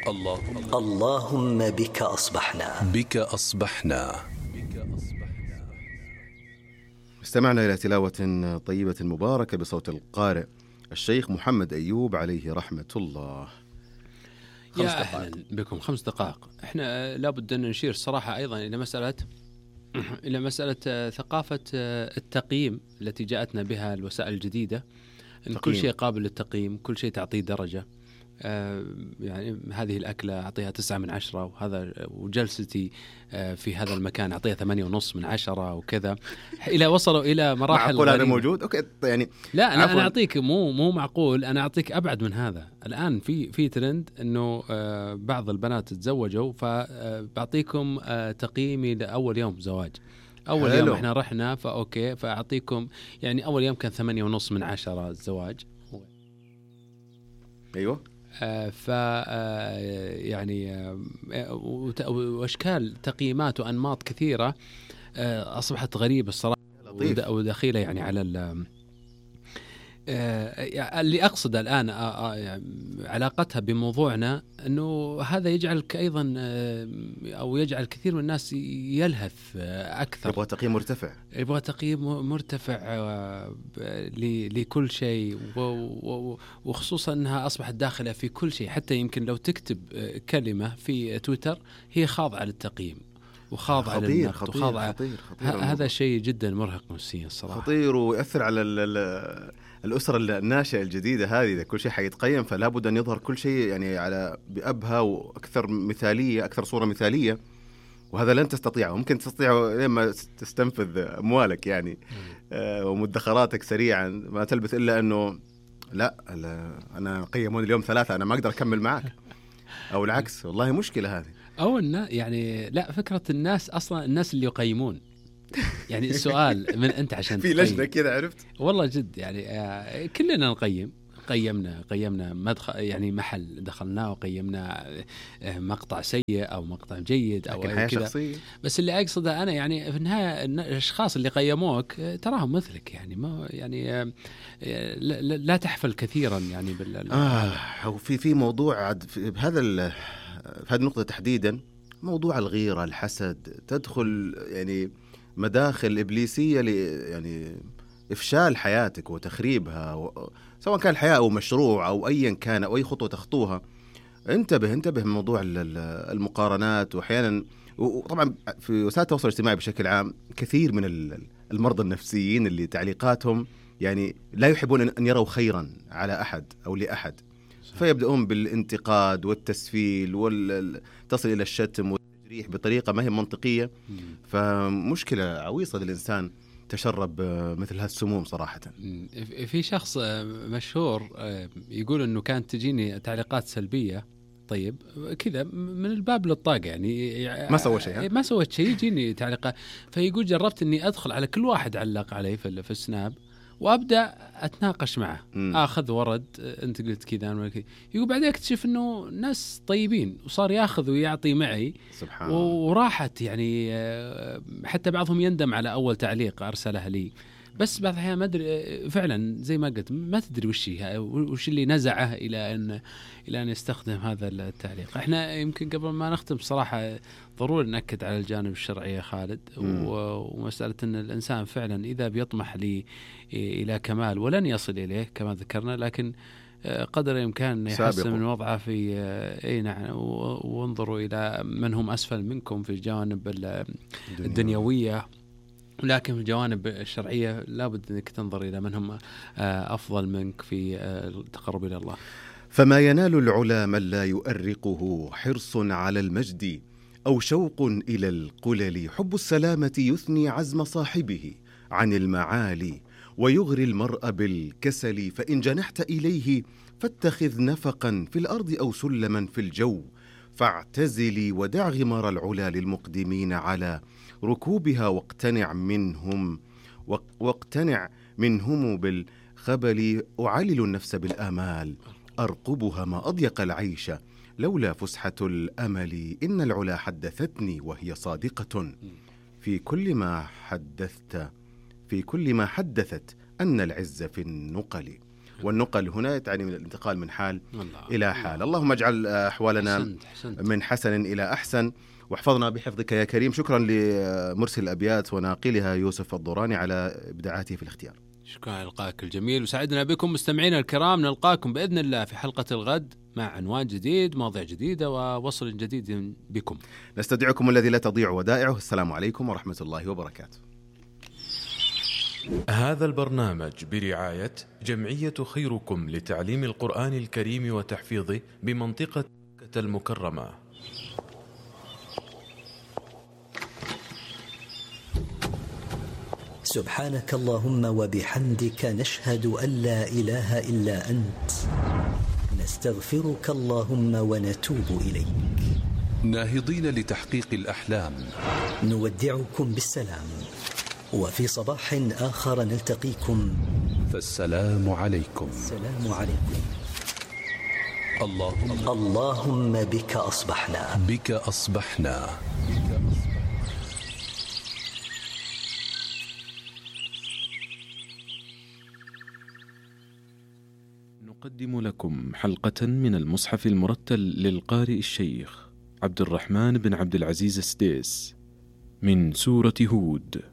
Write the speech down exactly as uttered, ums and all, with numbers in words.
الله اللهم بك أصبحنا بك أصبحنا. استمعنا إلى تلاوة طيبة مباركة بصوت القارئ الشيخ محمد أيوب عليه رحمة الله. خمس يا أهلا بكم. خمس دقائق. إحنا لابد أن نشير صراحة أيضا إلى مسألة إلى مسألة ثقافة التقييم التي جاءتنا بها الوسائل الجديدة، إن كل شيء قابل للتقييم، كل شيء تعطيه درجة. آه يعني هذه الأكلة أعطيها تسعة من عشرة، وهذا وجلستي آه في هذا المكان أعطيها ثمانية ونص من عشرة وكذا، إلى وصلوا إلى مراحل معقول هذا موجود؟ أوكي يعني لا أنا, أنا أعطيك مو مو معقول، أنا أعطيك أبعد من هذا. الآن في في ترند إنه آه بعض البنات تزوجوا، فبعطيكم آه تقييمي لأول يوم زواج. أول حلو. يوم إحنا رحنا فأوكي فأعطيكم يعني أول يوم كان ثمانية ونص من عشرة الزواج. أيوة. آه ف آه يعني آه واشكال تقييمات وانماط كثيره آه اصبحت غريبه الصراحه ودخيله يعني على آه اللي اقصد الان آه آه علاقتها بموضوعنا، انه هذا يجعلك ايضا آه او يجعل كثير من الناس يلهث آه اكثر، يبغى تقييم مرتفع، يبغى تقييم مرتفع آه لكل شيء، وخصوصا انها اصبحت داخله في كل شيء. حتى يمكن لو تكتب آه كلمه في تويتر هي خاضعه للتقييم وخاضعه للنقد وخاضعه. هذا شيء جدا مرهق نفسيا الصراحه، خطير، ويأثر على ال الأسرة الناشئة الجديدة هذه. إذا كل شيء حيتقيم فلا بد أن يظهر كل شيء يعني على بأبهى وأكثر مثالية، أكثر صورة مثالية، وهذا لن تستطيعه. ممكن تستطيعه لما تستنفذ أموالك يعني آه ومدخراتك سريعا، ما تلبث إلا أنه لا, لا أنا قيموني اليوم ثلاثة، أنا ما أقدر أكمل معك، أو العكس. والله مشكلة هذه. أو إنه يعني لا، فكرة الناس أصلا الناس اللي يقيمون يعني السؤال من أنت عشان في لجنة كذا، عرفت والله جد يعني آه كلنا نقيم. قيمنا قيمنا مدخل يعني محل دخلناه، وقيمنا آه مقطع سيء أو مقطع جيد أو كذا. بس اللي أقصده أنا يعني في النهاية الأشخاص اللي قيموك آه تراهم مثلك، يعني ما يعني آه لا, لا تحفل كثيرا يعني بال آه وفي في موضوع بهذا في هذه النقطة تحديدا، موضوع الغيرة، الحسد، تدخل يعني مداخل إبليسية ل يعني إفشال حياتك وتخريبها، و... سواء كان الحياة أو مشروع أو أيا كان أو أي خطوة تخطوها. انتبه انتبه من موضوع المقارنات. وأحيانا وطبعا في وسائل التواصل الاجتماعي بشكل عام كثير من المرضى النفسيين اللي تعليقاتهم يعني لا يحبون أن يروا خيرا على أحد أو لأحد، فيبدأون بالانتقاد والتسفيل وتصل إلى الشتم والتجريح بطريقة ما هي منطقية. فمشكلة عويصة للإنسان تشرب مثل هذا السموم صراحة. في شخص مشهور يقول أنه كانت تجيني تعليقات سلبية، طيب كذا من الباب للطاقة، يعني ما سوى شيء ما سويت شيء يجيني تعليقات. فيقول جربت أني أدخل على كل واحد علق علي في السناب وأبدأ أتناقش معه، م. أخذ ورد، أنت قلت كذا أنا كذا. يقول بعدين أكتشف إنه ناس طيبين، وصار يأخذ ويعطي معي سبحان الله، وراحت يعني حتى بعضهم يندم على أول تعليق أرسله لي. بس بعض الأحيان ما أدري فعلا زي ما قلت، ما تدري وش وش اللي نزعه إلى أن إلى أن يستخدم هذا التعليق. إحنا يمكن قبل ما نختم صراحة ضروري نأكد على الجانب الشرعي يا خالد، ومسألة أن الإنسان فعلا إذا بيطمح لي إلى كمال ولن يصل إليه كما ذكرنا، لكن قدر الإمكان يحسن من وضعه في أي نعم. وانظروا إلى من هم أسفل منكم في الجوانب الدنيوية، لكن في الجوانب الشرعية لابد أنك تنظر إلى من هم أفضل منك في التقرب إلى الله. فما ينال العلا من لا يؤرقه حرص على المجد أو شوق إلى القلل. حب السلامة يثني عزم صاحبه عن المعالي ويغري المرء بالكسل. فإن جنحت إليه فاتخذ نفقا في الأرض أو سلما في الجو. فاعتزلي ودع غمار العلا للمقدمين على ركوبها، واقتنع منهم واقتنع منهم بالخبل. أعلل النفس بالآمال أرقبها ما أضيق العيش لولا فسحة الأمل. إن العلا حدثتني وهي صادقة في كل ما حدثت في كل ما حدثت أن العز في النقل. والنقل هنا تعني من الانتقال من حال الله. إلى حال. اللهم اجعل أحوالنا حسنت حسنت. من حسن إلى أحسن، واحفظنا بحفظك يا كريم. شكرا لمرسل الأبيات وناقلها يوسف الضوراني على إبداعاته في الاختيار. شكرا لقاءك الجميل، وسعدنا بكم مستمعينا الكرام. نلقاكم بإذن الله في حلقة الغد مع عنوان جديد، مواضيع جديدة، ووصل جديد بكم. نستودعكم الذي لا تضيع ودائعه. السلام عليكم ورحمة الله وبركاته. هذا البرنامج برعاية جمعية خيركم لتعليم القرآن الكريم وتحفيظه بمنطقة مكة المكرمة. سبحانك اللهم وبحمدك، نشهد أن لا إله إلا أنت، نستغفرك اللهم ونتوب إليك. ناهضين لتحقيق الأحلام، نودعكم بالسلام، وفي صباح آخر نلتقيكم، فالسلام عليكم. السلام عليكم. اللهم اللهم بك أصبحنا بك أصبحنا نقدم لكم حلقة من المصحف المرتل للقارئ الشيخ عبد الرحمن بن عبد العزيز السديس من سورة هود.